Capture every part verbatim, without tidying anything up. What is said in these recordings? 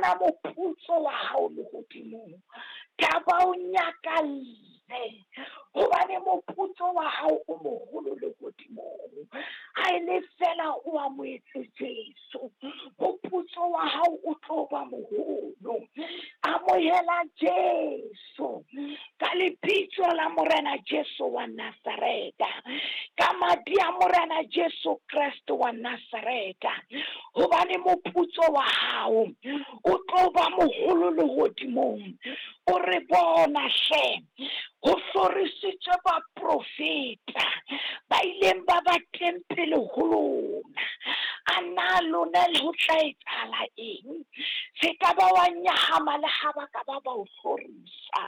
fumana moputso wa hao lehodimong. Thaba o nyakalle, hobane moputso wa hao o moholo lehodimong. Ha e le fela o amohetse Jesu, moputso wa hao o tlo ba moholo. Amohela Jesu ka lebitso la Morena Jesu wa Nazareta, ka madi a Morena Jesu Kreste wa Nazareta, hobane moputso wa hao o tlo ba moholo lehodimong. O re bona hle, ho hlorisitswe baprofeta ba ileng ba ba teng pele ho lona. A na lona le ho tla etsahala eng? Se ka ba wa nyahama le ha ba ka ba ba o hlorisa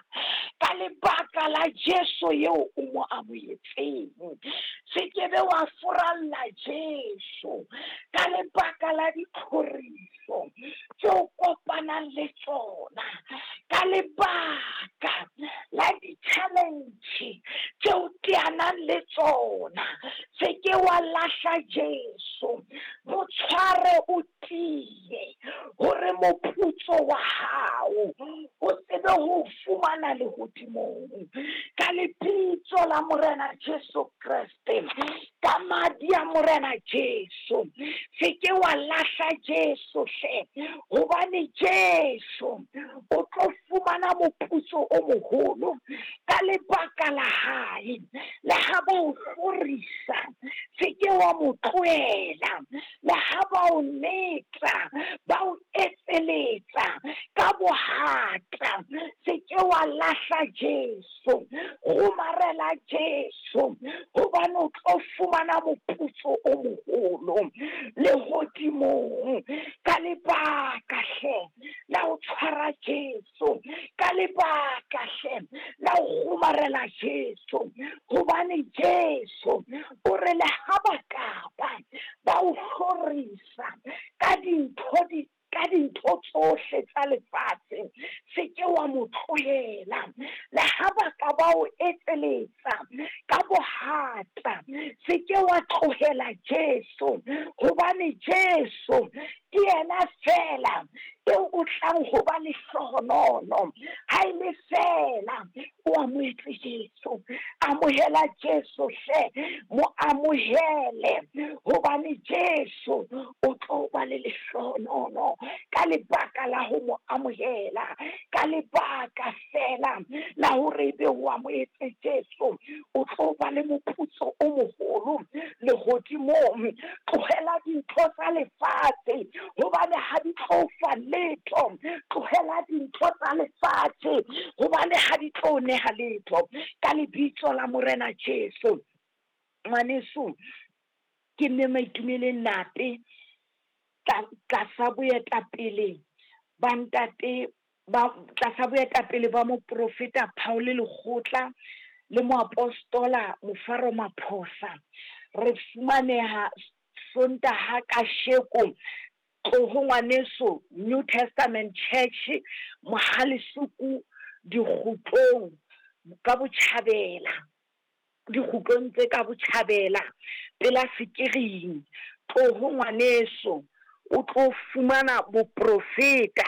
ka lebaka la Jesu eo o mo amohetseng. Se ke be wa furalla Jesu ka lebaka la ditlhoriso tseo kopanang le tsona, ka lebaka la di-challenge tseo teanang le tsona. Se ke wa lahla Jesu, mo tshware o tiye hore moputso wa hao o tsebe ho fumana lehodimong. Ka lebitso la Morena Jesu Kreste, ka madi a Morena Jesu, se ke wa lahla Jesu hle, hobane Jesu o tlo fumana moputso o moholo ka lebaka la hae. Le ha ba o hlorisa, se ke wa mo tlohela. Le ha ba o netsa, ba o etseletsa ka bohata, se ke wa lahla Jesu. Kgomarela Jesu, hobane o tlo fumana moputso o moholo lehodimong. Ka lebaka hle la ho tshwara Jesu, ka lebaka hle la ho kgomarela Jesu, hobane Jesu o re le ha ba ka ba ba o hlorisa ka dintho di ka dintho tsohle tsa lefatshe, se ke wa mo tlohela. Le ha ba ka ba o etseletsa ka bohata, se ke wa tlohela Jesu, hobane Jesu ke yena fela eo o tlang ho ba lehlohonolo. Ha e le fela o amohetse Jesu, amohela Jesu hle, mo amohele, hobane Jesu o tlo ba le lehlohonolo ka lebaka la ho mo amohela, ka lebaka fela la hore ebe o amohetse Jesu, o tlo ba le moputso o moholo lehodimong. Tlohela dintho tsa lefatshe, hobane ha di tlo fa letho. Tlohela dintho tsa lefatshe, hobane ha di tlo neha letho. Ka lebitso la Morena Jesu. Ngwaneso, ke mme Maitumeleng Nape, tlasa boetapele ba ntate ba tlasa boetapele ba moprofeta Paul Lekgotla le moapostola Mofaro Maphosa. Re fumaneha Sontaha kasheko tloho ngwaneso New Testament Church Mohalesuku dikgutlong ka botjhabela, dikgutlong tse ka botjhabela pela sekiring. Tloho ngwaneso o tlo fumana boprofeta,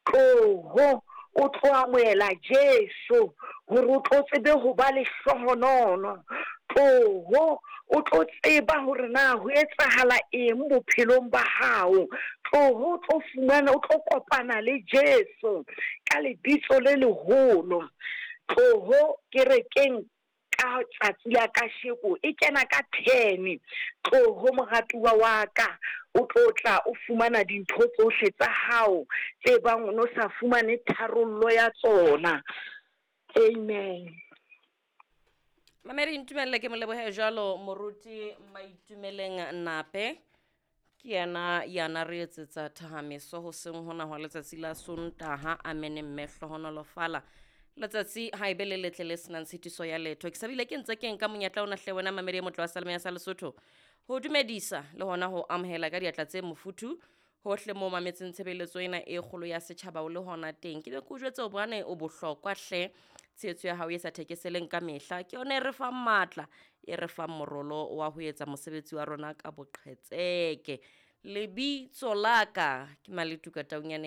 tloho o tlo amohela Jesu hore o tlo tsebe ho ba lehlohonolo. Tloho o tlo tseba hore na ho etsahala eng bophelong ba hao. Tloho o tlo fumana, o tlo kopana le Jesu ka lebitso le leholo. Tloho kerekeng ka tsatsi la kasheko e kena ka ten. Tloho moratuwa wa ka, o tlo tla o fumana dintho tsohle tsa hao tse bang o no sa fumane tharollo ya tsona. Amen. Mamedi, ntumelle ke molebohe jwalo moruti Maitumeleng Nape. Ke yena ya na re etsetsa thahameso hoseng hona hwa letsatsi la Sontaha. Amen mme hlohonolofala. Letsatsi ha ebe le letle le senang tshitiso ya letho. Ke sabile ke ntse ke nka monyetla ona hle wena mamedi e motle wa Salome ya sa Lesotho ho dumedisa le hona ho amohela ka diatla tse mofuthu hohle moo mametseng tshebeletso ena e kgolo ya setjhaba o le hona teng. Ke be ke o jwetse hobane o bohlokwa hle, tshehetso ya hao e sa thekeseleng ka mehla ke yona e re fang matla, e re fang morolo wa ho etsa mosebetsi wa rona ka boqhetseke. Lebitso la ka ke Maletuka Taunyane.